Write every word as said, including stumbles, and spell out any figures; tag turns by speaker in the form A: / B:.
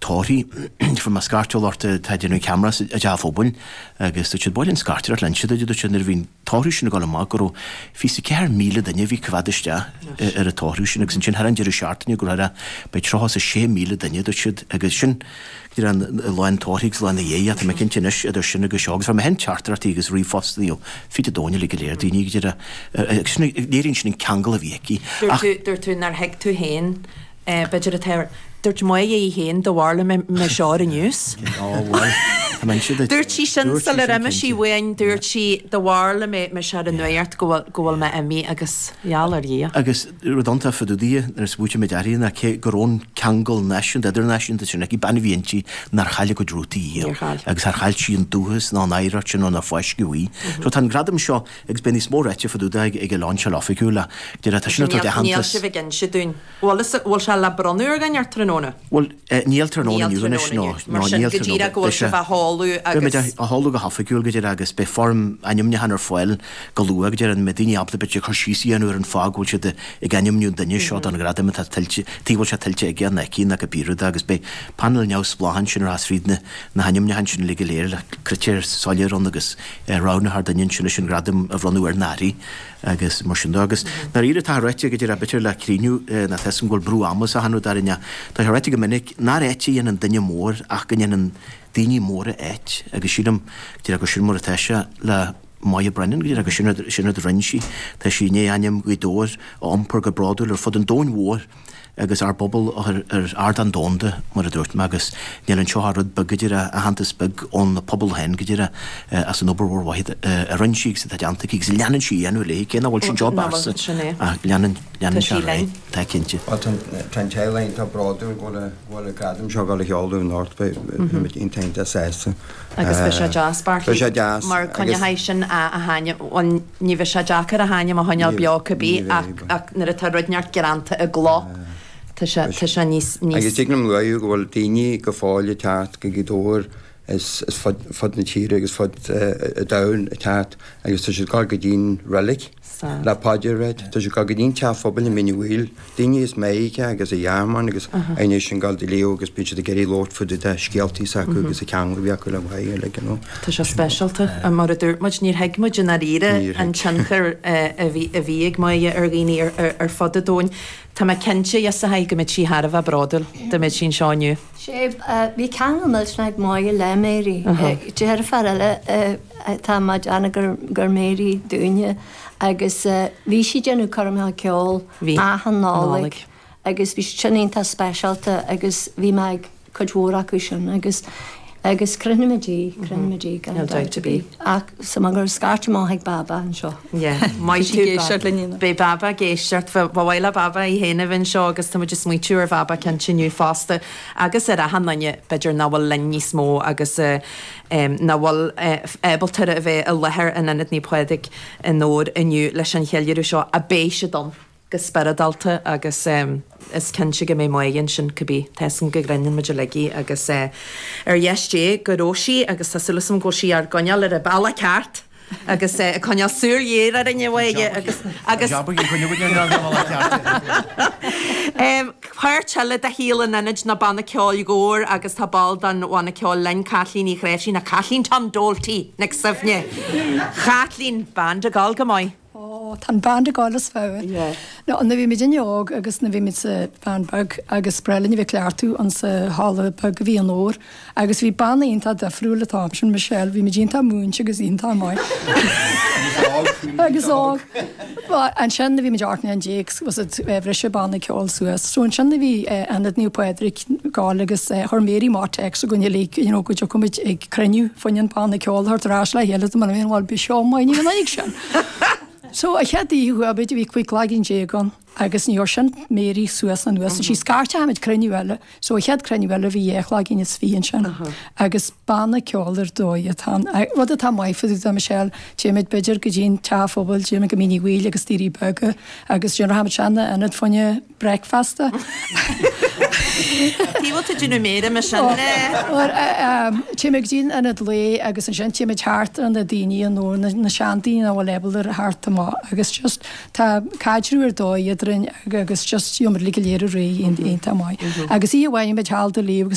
A: tórthaí fuair mé scairteáil ort tá déanamh ceamara i dteach an phobail agus dúirt siad bhuel an scairteoireacht linn siad dúirt siad nuair a bhí an tórramh sin ag dul amach go raibh fiche ceathair míle duine a bhí coimhéad isteach ar an tórramh sin agus ansin thar an deireadh seachtaine go raibh beidh tríocha is a sé míle duine dúirt siad agus sin go an lá an tórraimh agus lá ina dhiaidh tá mé cinnte anois idir sin agus seo agus fuair mé féin teachtaireachtaí agus ríomhphostanna ó fud an domhain uilig go léir daoine go deireadh agus sin léiríonn sin an ceangal a bhí aici.
B: Dúirt tú dúirt tú nár thuig tú féin b'fhéidir atá Dúirt Máire í féin do bharla mé mé seo ar an news. Dúirt sí sin sular imigh sí uainn, dúirt sí do bharla mé mé seo ar an nuacht go bhfuil go bhfuil mé imithe agus gheall ar Dhia.
A: Agus rud iontach fá dtaobh di nuair a smaoitigh muid uirthi ná cé go raibh an ceangal náisiúnta idirnáisiúnta sin aici, bean a bhí inti nár chaill a cuid rútaí
B: Níor chaill.
A: Agus char chaill sí an dúchas ná an oidhreacht sin ná nár fáisceadh í. So tá an gradam seo agus beidh níos mó ráite fá dtaobh de ag ag an lainseáil oifigiúil ach deir tá sin atá
B: Níl
A: d'aitheantas.
B: sibh ag inse dúinn. Bhfuil bhfuil sé le bronnadh ar dhuine ar tráthnóna?
A: Bhuel, níl tráthnóna
B: Níl
A: inniu anois
B: tráthnóna
A: nó
B: inniu. Mar
A: nó
B: sin
A: níl
B: go
A: tráthnóna.
B: díreach go bhfuil
A: Beidh sé
B: sibh á sheoladh
A: Beidh muid
B: agus
A: á sheoladh go hoifigiúil go díreach agus beidh foirm ainmniúcháin ar fáil go luath go díreach an mbeidh daoine ábalta b'fhéidir cur síos a dhéanamh ar an fáth go bhfuil siad ag ainmniú an duine seo don ghradam atá tuillte, tuige bhfuil sé tuillte aige nó aici nó cibé rud agus beidh panel neamhspleách ansin a rachas fríd na na hainmniúcháin sin uilig go léir le critéir soiléir ann agus roghnófar duine ansin leis an ghradam a bhronnadh ar an uirthi. Agus mar sin de agus dáiríre tá ráite go díreach b'fhéidir le críochnú ná tá 'fhios agam go bhfuil brú ama sa rud dáiríre tá sé ráite go minic nár áit a dhéanann duine mór ach go ndéanann daoine móra áit agus sílim go díreach gur sin mar atá sé le Moya Brennan go díreach gur sin sin rud a rinne sí. Tá sí i ndiaidh ainm Ghaoth Dobhair a iompar go bródúil ar fud an domhain mhóir agus ár bpobal ar ar ardán domhanda mar a dúirt mé agus níl anseo ach rud beag go díreach aitheantas beag ón pobal féin go díreach as an obair mhór mhaith a rinne sí agus atá déanta aici agus leanann sí a dhéanamh léi cé nach bhfuil sí anseo
B: Nach bhfuil, sin é.
A: ach leanann leanann
B: Tá
A: sé
B: sí
A: ar aghaidh.
B: linn.
A: Tá cinnte.
C: Well, tá tá an teaghlach iontach bródúil go bhfuil go bhfuil an gradam seo ag dul a sheoladh anocht beidh muid iontach iontach sásta.
B: Agus bheadh sé deas
C: Beidh sé deas
B: mar
C: agus
B: coinneoidh sin a a hainm bhuel ní bheadh sé deacair a hainm a choinneáil
C: Ní
B: beo cibé
C: ní bheidh,
B: ach ach nuair atá rud inteacht greanta i gcló tá sé tá sé níos níos
C: Agus tig liom a rá go bhfuil daoine go fóill ag teacht go Gaoth Dobhair is is fud fud na tíre agus fud an domhain ag teacht agus tá siad ag dul go dtí'n reilig
B: Sad.
C: le paidir a ráit. Tá siad ag dul go dtí'n teach phobail i Mín an Mhaoil, daoine as Meiriceá agus as Ghearmáin agus aoinne sin ag dul do léamh agus bíonn siad ag iarraidh labhairt fá dtaobh de scéaltaí s'acu agus an ceangal a bhí acu le Máire uilig, you know.
B: Tá sé speisialta mar a dúirt muid níor thuig muid i ndáiríre
C: Níor
B: an
C: thuig.
B: tionchar a bhí a bhí ag Máire ar dhaoine ar ar ar fud an domhain. Tá mé cinnte yes a go mbeidh sí thar a bheith bródúil dá mbeadh sí anseo inniu.
D: Sé bhí ceangal millteanach ag Máire le Mary. Deirfiúr eile atá má dearna gur gur Mary dúinne agus bhí sí déanamh coirmeacha ceoil
B: Bhí.
D: achan Nollaig
B: Nollaig.
D: agus bhí sin iontach speisialta agus bhí mé ag cuid mhór acu sin agus agus croinnimid í croinnimid í gan
B: Níl dabht ar bith.
D: Ach sa mar gur scairt amach ag Baba anseo.
B: Yeah, maith
E: sí
B: tú
E: ag éisteacht linn inniu.
B: Beidh Baba ag éisteacht ba mhaith le Baba í féin a bheith anseo agus tá muid ag smaoitiú ar Bhaba cinnte inniu fosta agus ar achan duine b'fhéidir nach bhfuil linn níos mó agus uh, um, nach bhfuil uh, ábalta a bheith i láthair in Ionad Naomh Pádraig i nDobhar inniu leis an cheiliúradh seo a beidh siad ann go spioradálta agus um, is cinnte go mbeidh Máire ansin cibé tá go grinneann muid uilig agus uh, ar dheis Dé go raibh sí agus tá súil agam go bhfuil sí ár gcoinneáil ar an bealach ceart agus uh, coinneáil súil ghéar ar inne agus agus Um, Páirt eile de shaol an ionaid ná banna ceoil Gobhar agus tá ball den bhanna ceoil linn Caitlín Ní Chréimhsí na Caitlín Tom Doalty Nic Suibhne. Caitlín band ag gabháil go maith.
F: Ó tá band ag gabháil is fearr.
B: Yeah.
F: No an na bhí muid óg agus na bhí muid sa bhean beag agus breline bhí cleartú an sa halla beag a bhí an ór agus bhí banna iontach difriúil atá sin Michelle, bhí muid iontach múinte agus iontach maith. agus óg. Ansin bhí muid ocht mbliana déag was it bhris banna ceoil suas. So ansin bhí Ionad Naomh Pádraig gáil agus chuir Mary má text againn le you know, go dtiocfaimid ag cruinniú faoin banna ceoil thart ar ais le chéile mar bhí bí seo mai ní an sin. So a chéad oíche bhí bhí cúig againn déag ann agus ní sin Mary suas an nuas sí scairtehaid cruinniú eile, so a chéad cruinniú eile bhí dheich againn is fiche ansin agus banna ceoil ar dóigh atá rud atá maith do Michelle téimid b'fhéidir go dtí'n teach phobail téimid go Mín Uí Bhaoill agus Doirí Beaga agus déanfaimid seanna ionad faoine breakfasta.
B: Tí bhfuil tú déanamh méire me sin
F: Téimid go dtí'n ionad lae agus ansin téimid thart ar na daoine an nó na seandaoine a bhfuil ábalta ar thart amach agus just tá caidreamh ar dóigh eadrainn agus just iomar le go léir réidh iontach maith. Agus í bhain muid thall do líomh agus